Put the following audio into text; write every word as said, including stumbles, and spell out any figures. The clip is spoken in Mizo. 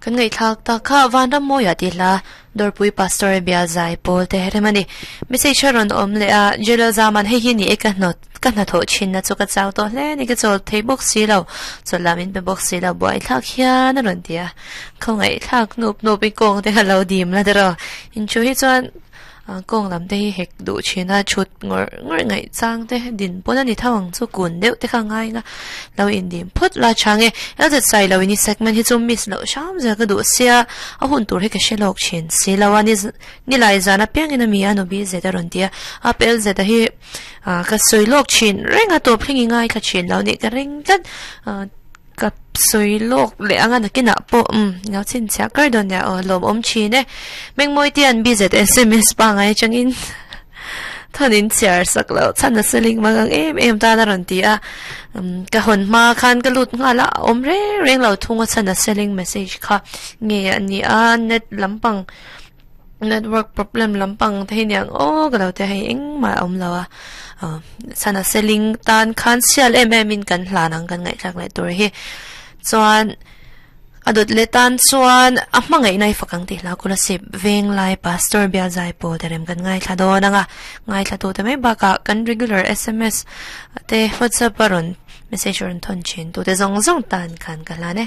Kan ngai thak ta kha van ram moya ti hla Dorpui Pastor bial zai pawl te remani message ron om le a jelo zaman hei hi ni e ka hnot ka hna tho chin na chu ka chau to hle ni ka chol thei bok si lo cholamin pe bok si lo buai thak hian a ron tia khawngai thak nup nup i kong te lo dim la dero in chu hi chuan kong lam te hi hek du china chut ngor ngor ngai chang te din pon ani thawang chu kun deuh te kha ngai nga lo in dim phut la change el zet sai lo ini segment hi chu miss lo sham za ka du sia a hun tur hi ka shelok chin si lo ani ni lai zana piang ina mi anu bi zeta ron tia a pel zeta hi ka soilok chin renga to phlingi ngai kha chin lo ni ka ring tlat ka soilok le anga na kina po um ngau chin cha kar don ya o lom om chi ne mengmoi tian bi zet sms pa ngai changin thanin chiar sak lo chan na seling mangang em em ta na ron ti a ka hon ma khan ka lut nga la om re reng lo thunga chan na seling message kha nge ani a net lampang network problem lampang te hiang o ga lo te hei eng ma om lo a chana seling tan khan sial em em in kan hlanang kan ngai thak lai tur hi chuan adot le tan chuan a hmangai nai fakang ti hla kula sip veng lai pastor bia zai po terem kan ngai thla do nanga ngai thla tu te mai baka kan regular sms te whatsapp aron message ron thon chin tu te zong zong tan khan ka hla ne.